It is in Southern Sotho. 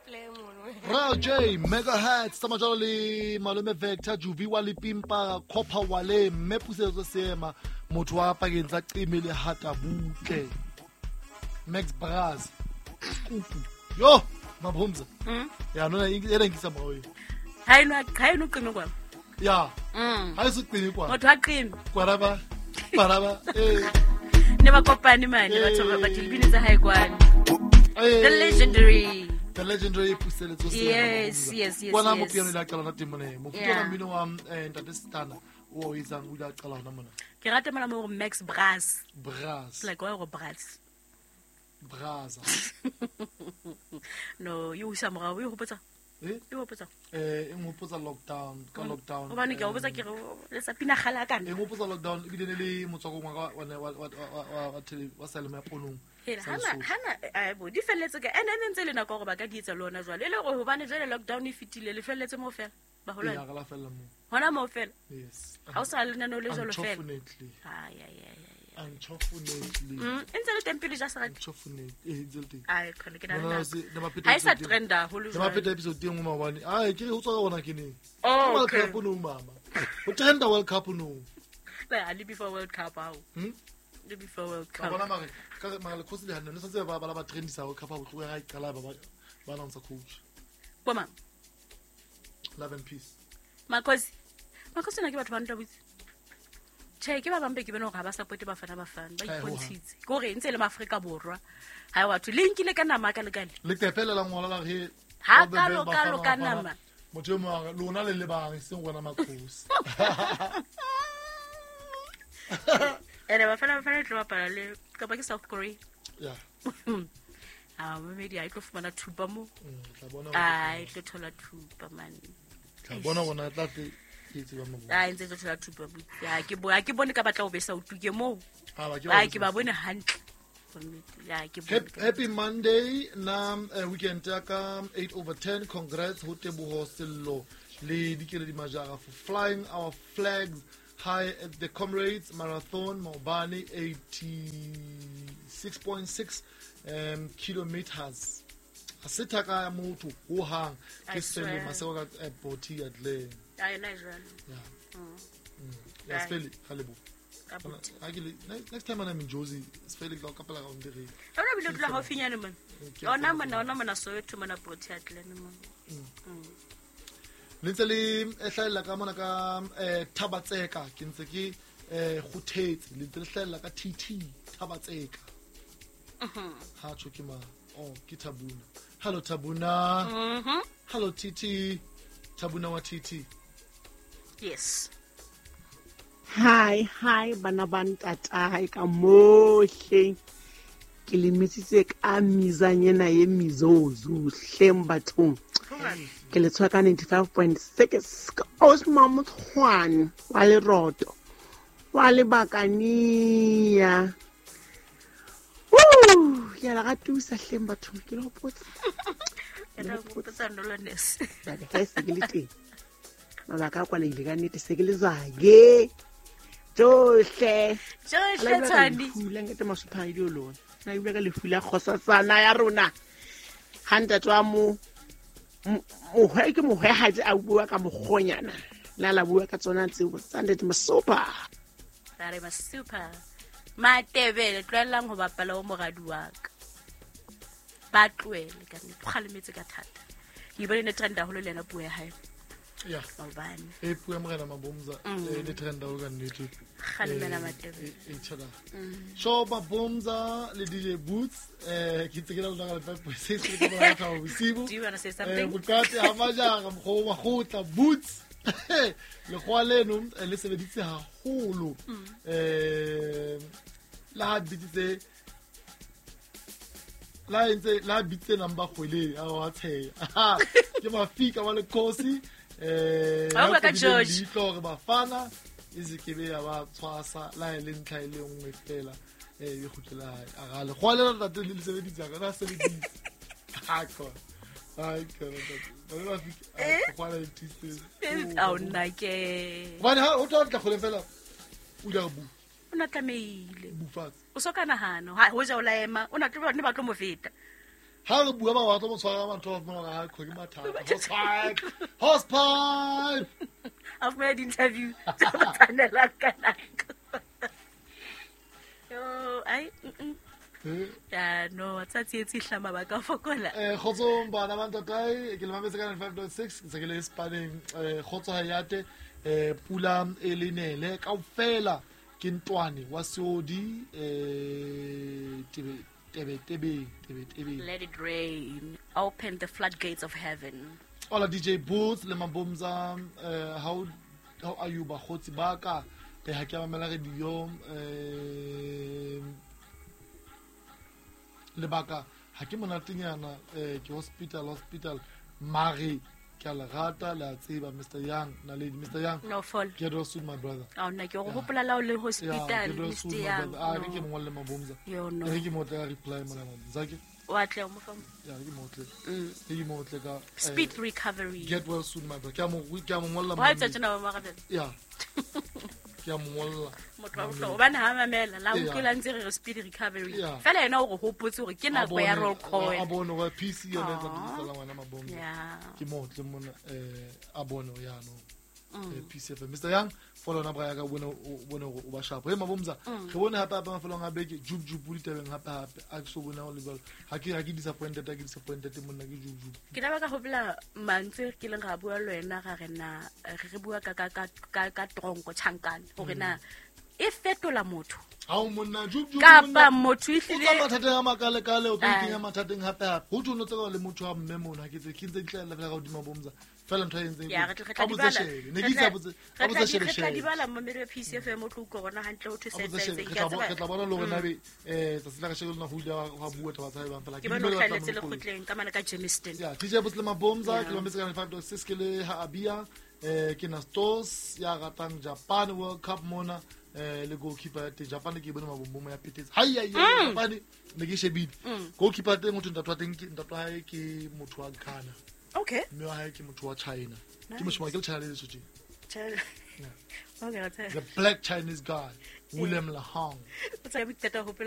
play mono. Royal J, Megahertz, tsa majalo le malome Vector, Juvi wa Lipimpa, Copper Wale, mme Pusetso Seema, motho wa pakeng tsa Qeme le Hata Butle. Max Braz, Skupu. Yo, Mabhomza. Ya nona ena nkisa morao eo. Ha eno ha eno qeme kwa. Ya. Ha e se qeme kwa. Motho ha qeme. Kwaraba. Kwaraba. Eh. Ne ba kopane mane batho ba batho dibini tsa hae kwane. Eh. The legendary. The legendary Puseletso Seema. Yes, yes, yes, Kwana yes. mo piano ile a qala hona teng mona. Mofuta Yeah. wa mmino wa Ntate Stana o o etsang o ile a qala hona mona. Ke rata mona mo Max Braz. Braz. Like wa go Braz. Braza. No, e o isa morao, e hopotsa. Eh? E hopotsa. Eh, e nghopotsa lockdown, ka lockdown. Hobane ke a hopotsa ke re le sa pina kgale a kana. E nghopotsa lockdown ebile ne le motswakong wa ka wa seyalemoya ponong. Hela, Sa hana Lesotho. hana ai bo di felletse ka ene ene ntse le nako hore ba ka di etsa le hona jwale. E le hore hobane jwale lockdown e fetile le felletse moo fela. Baholwane. Ee, re la fella moo. Hona moo fela. Yes. Ha o sa lenaneo le jwalo fela. Unfortunately. Ai ai ai ai. Unfortunately. E ntse le teng pele ja serati. Unfortunately. Eh, ntse le teng. Ai khona ke na le No, no, nako. se- ne ba pheta Ha e sa episode e- trenda haholo Ne ba jwale. pheta episode e nngwe maobane. Ai, ke re ho tswa ka ona ke neng? Oh, Ke World okay. Cup no mama. Ho trenda World Cup no. Ba ha le before World Cup hao. Le before World Ka Cup. bona mare ka mare le khosi le hanne ne santse ba ba trendisa World Cup ha botlhoka ha e qala ba announce coach. Bo mang? Love and peace. Makhosi. Makhosi na ke batho ba ntwa botse. Tjhe, ke ba bang be ke bone hore ha ba support Bafana Bafana, ba Hai, ho hang. ipontshitse. Ke hore e ntse e le Maafrika Borwa. Ha batho le nkile ka nama ka lekale. Leqephe le la ngola la re Ha all the kalo, best, Bafana kalo ka Bafana. nama. Motho e mong a re, lona le lebang e seng rona makhosi. Ene Bafana Bafana e tlo bapala le kapa ke South Korea. Yeah. Ah, mamedi ha e tlo fumana thupa moo. Tla bona Ah, e tlo thola thupa man. Tla bona bona tla tle ke tseba mo. Ah, e ntse e tlo thola thupa buti. Ah, ke bo ha ke bone ka batla ho besa o tuke moo. Ah, ba ke Ah, ke ba bone hantle. Ya, ke bone. Happy Monday na weekend ya ka 8 over 10 congrats ho Teboho Sello le Dikeledi Majara for flying our flags high at the Comrades Marathon maobane 86.6 kilometers. Ha se thaka ya motho ho hang I ke Sele swear. Maseko ka Portia Glen. Ah, yona e jwalo. Yeah. Ya Right. Sefele ga lebo. Ka buti. Ha ke le next time I'm in Jozi Sefele ke tla o kapela ka onde re. Ona bile o dula haufinyane mona. Ke Ona mona, ona mona Soweto mona Protea Glen mona. Le ntse le hlahella ka mona ka Thabatseka ke ntse ke kgothetse le ntse le hlahella ka TT Thabatseka. Ha tjho ke mang? Oh, ke Thabuna. Hello Thabuna. Hello TT. Thabuna wa TT. Yes. Hi, hi bana ba ntatae ka mohle. Ke le metsitse ka mizanyena ye mizozu hleng bathong. Ke le tshwara ka 95.6 ka Osma Motshwane wa Leroto wa Lebakania. Woo, ke a le ratusa hleng bathong ke le hopotse. Ke tla hopotsa Nolones. Jwale ha e se ke le teng. Mabaka a kwalehile ka nnete se ke le zake. Tsohle. Tsohle Tshwane. Lefu la nkete Masopha dio lona. Na bua ka lefu la kgosatsana ya rona. Ha ntate wa mo mohwe ke mohwehadi a bua ka mokgonyana. La la bua ka tsona tseo tsa ntate Masopha. Ra re Masopha. Matebele tlohellang ho bapala o moradi wa ka. Ba tlohele ka nnete. O kgalemetse ka thata. Ke bone ne trend haholo le yena puo ya hae. Yeah. Maobane. E puo ya morena Mabomza le trend haholo ka nnete. Kgalemela Matebele. E tjhela. Sho Mabomza le DJ Boots ke ntse ke na le lona ka 5.6 le ke bona ka bosibu. Do you wanna say something? Bokate ha majara mokgwa wa kgotla Boots. Lekgowa leno le sebeditse haholo. La ha bitsitse la entse la bitse number kgweleng a wa tsheya. Ke mafika wa lekgosi Ha o bua ka ya George. leihlo hore Bafana e se ke be ya ba tshwasa la e le ntlha e le nngwe fela e kgutlela hae. A ra lekgowa lena ntate le sebeditse ka na sebeditse. Ha khona. Ai khona ntate. Ba be ba fika lekgowa le thusitse. Ao nna ke. Hobane ha o tla tla kgoleng fela o ile a re bu O na tlamehile. bu fatshe. O so ka nahana ha hoja o la ema o na tlo ne ba tlo mo feta. Ha re bua ba batla mo tshwara batho ba fumana ha ke mathata. Hosepipe. Hosepipe. A fumana di-interview tse mo tshwanelang ka nako. Yo, ai, Ya, no, tsa tsietsi e hlama ba ka fokola. Kgotsong bana ba ntatae, ke le mametse ka 95.6, ke se ke le Spaneng. Kgotso ha yate, pula e le nele kaofela ke ntwane wa seodi, tebe tebe tebe tebe tebe. Let it rain. Open the floodgates of heaven. Hola DJ Boots le Mabomza, how are you bakgotsi ba ka? Ha ke a mamela radio, lebaka ha ke monatenyana, ke hospital mare ke a le rata, le a tseba Mr. Young, Naledi Mr. Young. No fall. Get well soon my brother. Oh nna ke go hopola la o le hospital Mr. Young. Ah, ke mo ngolle Mabomza. Yo no. Re ke mo tla reply mona Mabomza ke. Wa tle mo fa. Ya ke mo tle. Ke mo tle ka speed recovery. Get well soon my brother. Ke a mo ngolla. Wa tsa tsena ba marabela. Ya. Ke a mo ngolla. Motho wa bohlokwa hobane ha mamela la utlwela ntse re speed recovery. Fela yena o re hopotse hore ke nako ya roll call. A bone wa PC yona e tla tsala ngwana Mabomza. Ke mo tle mona a bone ya no. PCF Mr. Young follow na bra ya ka bone o ba sharp. He Mabomza re bone hape hape mafelong a beke jub jub ditabeng hape hape a ke so bona o le jwalo. Ha ke disappointed, ha ke disappointed monna ke jub jub. Ke la ba ka hopola mantswe ke leng ga bua le wena ga rena re bua ka ka ka ka tronko chankane hore na e fetola motho. Ha o monna jub jub kapa motho ehlile o tsa mathateng a makalekale o tlo kenya mathateng hape hape. Ho tlo tseba le motho wa mme mona ke tse ke ntse di tla fela ka hodima Mabomza. Fela ntho e entseng ya re tla di bala ne ke tsa botse a botse shebe shebe re tla di bala mo mere PCFM o tlo utlwa rona hantle ho thuse tse ke tla bona le hore na be tsatsi la ka shebe lona ho ile ha bua taba tsa bang fela ke bona hlalletse le kgotleng ka mana ka Germiston. Ya DJ Botse le Mabomza ke mametse ka 5.6 ke le ha Abia ke na Stos ya ratang Japan World Cup mona le goalkeeper ya teng Japan ke bone mabombo ya petetse. Hai hai Japan ne ke shebile. Goalkeeper teng motho ntatwa teng ke ntatwa hae ke motho wa Ghana. Okay. Mme wa hae ke motho wa China. Ke moshima ke China le Lesotho. China. Okay, the black Chinese guy William Lahong. O tsa bitata hopola